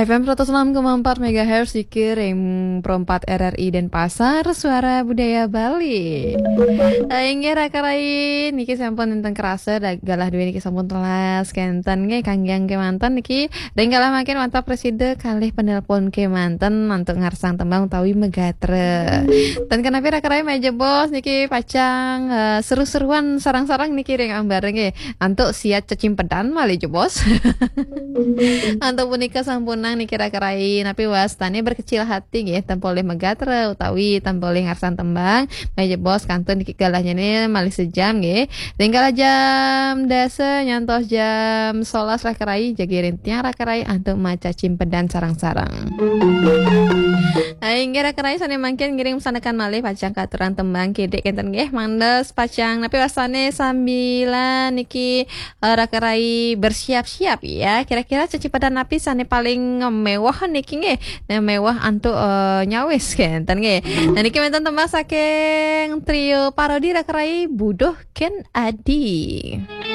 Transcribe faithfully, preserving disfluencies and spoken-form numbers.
F M seratus enam koma empat megahertz, iki ring Pro empat R R I Denpasar, Suara Budaya Bali. Eh, inggih raka rai, niki sampun nenten kerasa, da-, galah duwe niki sampun telas, kenten nggih, kanggiang kemanten niki, ring galah mangkin wantah prasida kalih penelpon kemanten antuk ngarsang tembang utawi megatra. Ten kenapi raka rai malih jebos niki pacang, eh, seru-seruan sareng-sareng niki ring ambara nggih. Antuk siat cecimpedan malih jebos. Antuk punika sampunang niki raka rai, napi wastane berkecil hati nggih, tan polih megatra utawi tan polih ngarsang tembang, malih jebos kantun niki galahnyane malih sejam nggih. Ring galah jam dasa nyantos jam solas raka rai, jagi ring tiang raka rai antuk macecimpedan sareng-sareng. Ah, inggih raka rai sane mangkin ngiring masandekan malih pacang katuran tembang kidik kenten nggih, mangda pacang napi wastane sambilan niki, eh, raka rai bersiap-siap ya. Kira-kira cecimpedan napi sane paling mewah niki nggih? Nah, mewah antuk, eh, nyawis kenten nggih. Nah, niki wenten tembang saking trio parodi raka rai Buduh Ken Adi.